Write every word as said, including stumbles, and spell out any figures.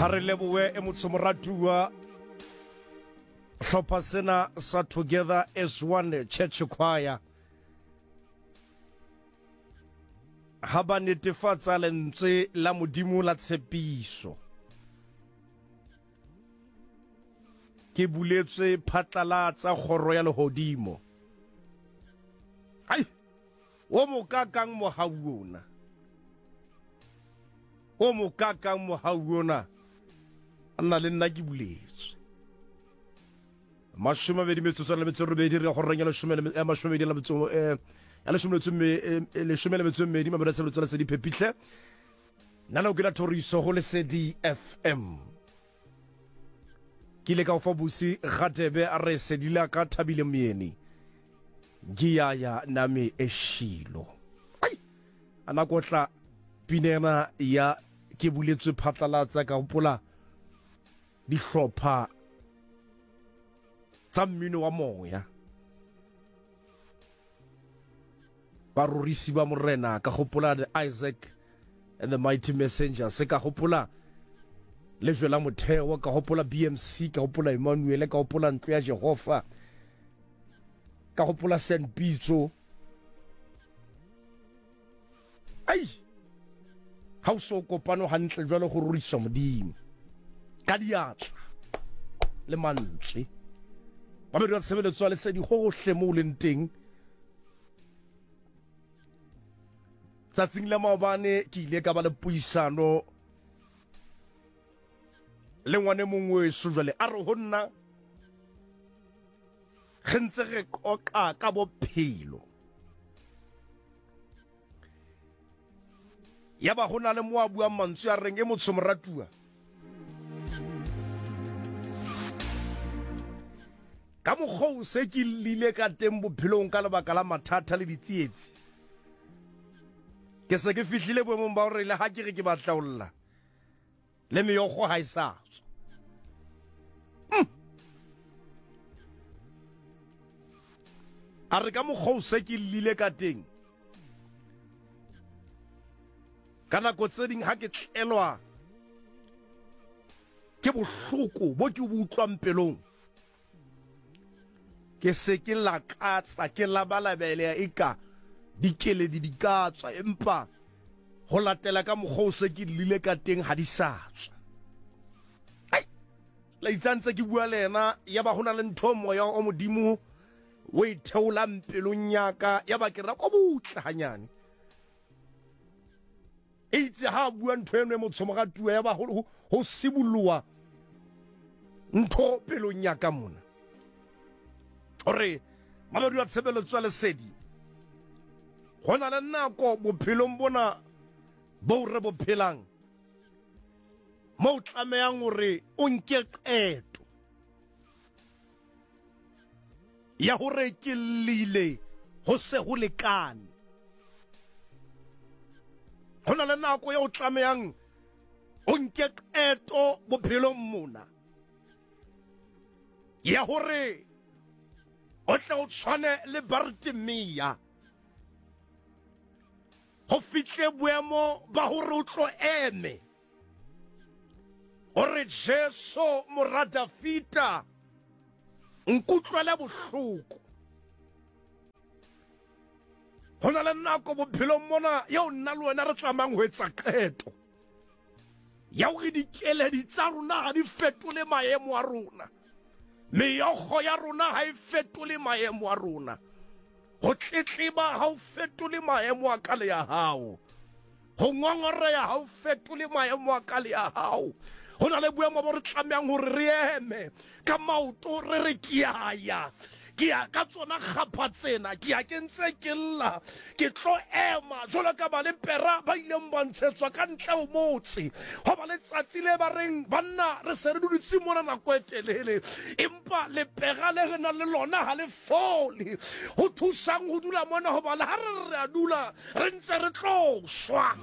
Ha re lebohe e motho moratuwa hlopha sena sa Together as One Church Choir ha ba netefatsa lentswe la Modimo la tshepiso. Ke buletswe phatlalatsa kgoro ya lehodimo. Ai, o mokakang mohau ona. O mokakang mohau ona. Nna le nna ke buletswe. Mashome a mabedi metsotso le metso e robedi re ya go reng ya leshome le ya mashome a mabedi le metso eh ya leshome le metso e leshome le metso e mmedi mabedi a tshebeletso la Phephihle. Nna le ke la Thoriso go Lesedi F M. Ke ile ka o fa Busi Gatebe a re sedila ka Thabile Moyeni. Ngiyaya nami eshilo. Ai, a nako tla pinena ya ke buletswe phatlalatsa ka hopola dihlopha tsa mmino wa moya. Barorisi ba morena ka hopola the Isaac and the Mighty Messengers, ka hopola lejwe la motheo, ka hopola B M C, ka hopola Emmanuel, ka hopola ntlo ya Jehova, ka hopola Saint Pitso. Ai, ha o so kopano hantle jwalo go rorisa Modimo ka diatla le mantswe. Ba be tshebeletso ya Lesedi hohle mo leng teng. Tsatsing la maobane ke ile ka ba le puisano le ngwane mongwe weso jwale a re ho nna re ntse re qoqa ka bophelo. Ya ba ho na le mo a buang mantswe a reng e motho moratuwa. Ka mokgwa o se ke llile ka teng bophelong ka lebaka la mathata le ditsietsi. Ke se ke fihlile boemong ba hore le ha ke re ke batla ho lla, le meokgo ha e sa tswa. Mm. A re ka mokgwa o se ke llile ka teng, ka nako tse ding ha ke tlelwa ke bohloko bo ke bo utlwang pelong, ke se ke lakatsa, ke labalabela eka dikeledi di ka tswa, empa ho latela ka mokgwa o se ke llile ka teng ha di sa tswa. Ai, la itsantse ke bua le yena, ya ba ho na le ntho moya o Modimo o e theolang pelong ya ka, ya ba ke ra ko butle hanyane. Eitse ha a bua ntho eno e motho moratuwa, ya ba ho ho sibolloa ntho pelong ya ka mona. Hore mabedi wa tshebeletso ya Lesedi, ho na le nako bophelong bona bo re bo phelang mo o tlamehang hore o nke qeto ya hore ke llile ho se ho lekane. Ho na le nako ya o tlamehang o nke qeto bophelong mona ya hore o tle o tshwane le Bartimea, ho fihle boemo ba hore o tlo eme hore Jesu mora Dafita nkutlwele bohloko. Ho na le nako bophelong mona eo nna le wena re tlamang ho etsa qeto ya hore dikeledi tsa rona ha di fetole maemo a rona, meokgo ya rona ha e fetole maemo a rona, ho tletleba ha o fetole maemo a ka le ya hao, ho ngongoreha ha o fetole maemo a ka le ya hao. Ho na le boemo bo re tlamehang hore re eme ka maoto re re ke a ya, ke ya ka tsona kgapha tsena, ke ya ke ntse ke lla, ke tlo ema jwalo ka ba lepera ba ileng ba ntshetswa ka ntle ho motse. Ho ba letsatsi le ba reng banna re se re dutse mona nako e telele, empa lepera le re nang le lona ha le fole. Ho thusang ho dula mona hoba le ha re re a dula re ntse re tlo shwa.